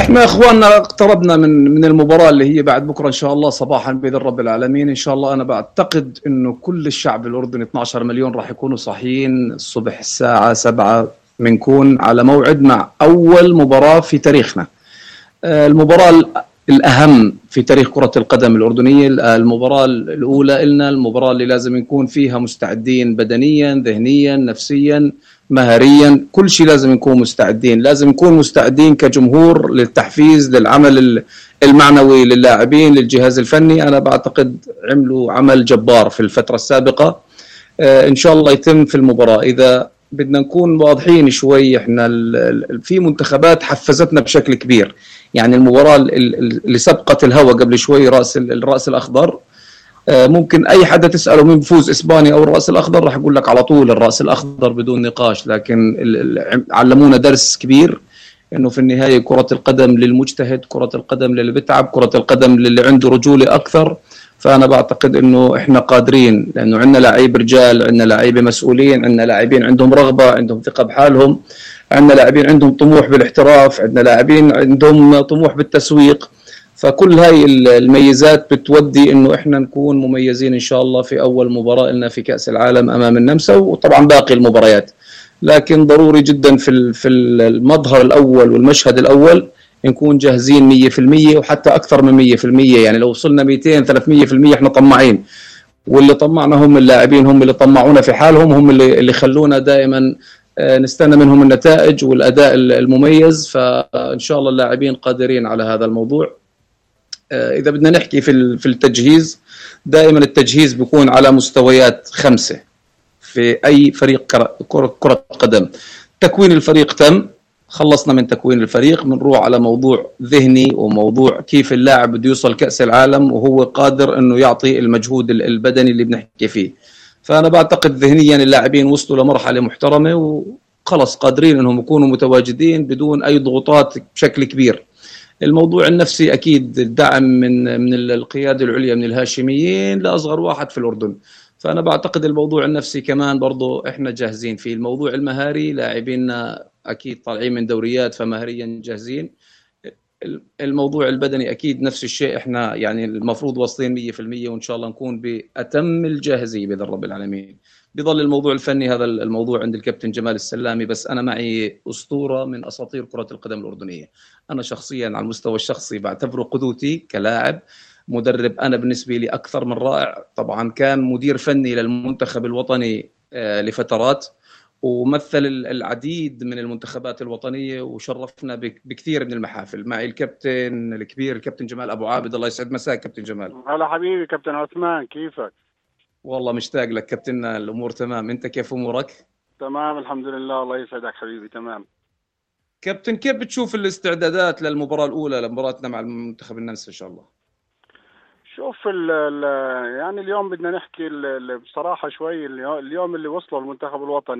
احنا اخواننا اقتربنا من المباراة اللي هي بعد بكرة ان شاء الله صباحا بإذن رب العالمين. ان شاء الله انا بعتقد انه كل الشعب الاردني 12 مليون راح يكونوا صاحيين الصبح الساعة 7 بنكون على موعد مع اول مباراة في تاريخنا، المباراة الأهم في تاريخ كرة القدم الأردنية، المباراة الأولى إلنا، المباراة اللي لازم نكون فيها مستعدين بدنيا ذهنيا نفسيا مهاريا، كل شيء لازم نكون مستعدين. لازم نكون مستعدين كجمهور للتحفيز للعمل المعنوي للاعبين للجهاز الفني. أنا بعتقد عملوا عمل جبار في الفترة السابقة، إن شاء الله يتم في المباراة. إذا بدنا نكون واضحين شوي، احنا في منتخبات حفزتنا بشكل كبير. يعني المباراة اللي سبقت الهوا قبل شوي الرأس الأخضر، ممكن أي حدا تسأله مين بفوز إسبانيا أو الرأس الأخضر راح يقول لك على طول الرأس الأخضر بدون نقاش. لكن علمونا درس كبير إنه في النهاية كرة القدم للمجتهد، كرة القدم للي بتعب، كرة القدم للي عنده رجولة أكثر. فأنا بعتقد إنه إحنا قادرين، لأنه عندنا لاعب رجال، عندنا لاعبين مسؤولين، عندنا لاعبين عندهم رغبة، عندهم ثقة بحالهم، عندنا لاعبين عندهم طموح بالاحتراف، عندنا لاعبين عندهم طموح بالتسويق. فكل هاي الميزات بتودي إنه إحنا نكون مميزين إن شاء الله في أول مباراة لنا في كأس العالم أمام النمسا، وطبعا باقي المباريات. لكن ضروري جدا في المظهر الأول والمشهد الأول نكون جاهزين 100% وحتى أكثر من 100%. يعني لو وصلنا 200 300% إحنا طماعين، واللي طمعنا هم اللاعبين، هم اللي طمعونا في حالهم، هم اللي خلونا دائما نستنى منهم النتائج والأداء المميز. فإن شاء الله اللاعبين قادرين على هذا الموضوع. إذا بدنا نحكي في التجهيز، دائما التجهيز بيكون على مستويات 5 في أي فريق كرة قدم. تكوين الفريق تم، خلصنا من تكوين الفريق، بنروح على موضوع ذهني وموضوع كيف اللاعب بده يوصل كأس العالم وهو قادر انه يعطي المجهود البدني اللي بنحكي فيه. فانا بعتقد ذهنيا اللاعبين وصلوا لمرحلة محترمة وخلص قادرين انهم يكونوا متواجدين بدون اي ضغوطات بشكل كبير. الموضوع النفسي اكيد الدعم من القيادة العليا من الهاشميين لاصغر واحد في الاردن. فانا بعتقد الموضوع النفسي كمان برضو احنا جاهزين فيه. الموضوع المهاري لاعبيننا اكيد طالعين من دوريات فمهريا جاهزين. الموضوع البدني اكيد نفس الشيء، احنا يعني المفروض واصلين 100% وان شاء الله نكون باتم الجاهزيه باذن رب العالمين. بيظل الموضوع الفني هذا الموضوع عند الكابتن جمال السلامي، بس انا معي اسطوره من اساطير كره القدم الاردنيه. انا شخصيا على المستوى الشخصي بعتبره قدوتي كلاعب، مدرب انا بالنسبه لي اكثر من رائع. طبعا كان مدير فني للمنتخب الوطني لفترات، ومثل العديد من المنتخبات الوطنية وشرفنا بكثير من المحافل. معي الكابتن الكبير الكابتن جمال أبو عابد، الله يسعد مساك كابتن جمال. هلا حبيبي كابتن عثمان، كيفك؟ والله مشتاق لك كابتننا، الأمور تمام، أنت كيف أمورك؟ تمام الحمد لله، الله يسعدك حبيبي. تمام كابتن، كيف بتشوف الاستعدادات للمباراة الأولى لمباراتنا مع المنتخب النمسا إن شاء الله؟ شوف يعني اليوم بدنا نحكي بصراحة شوي. اليوم اللي وصلوا المنتخب الوطني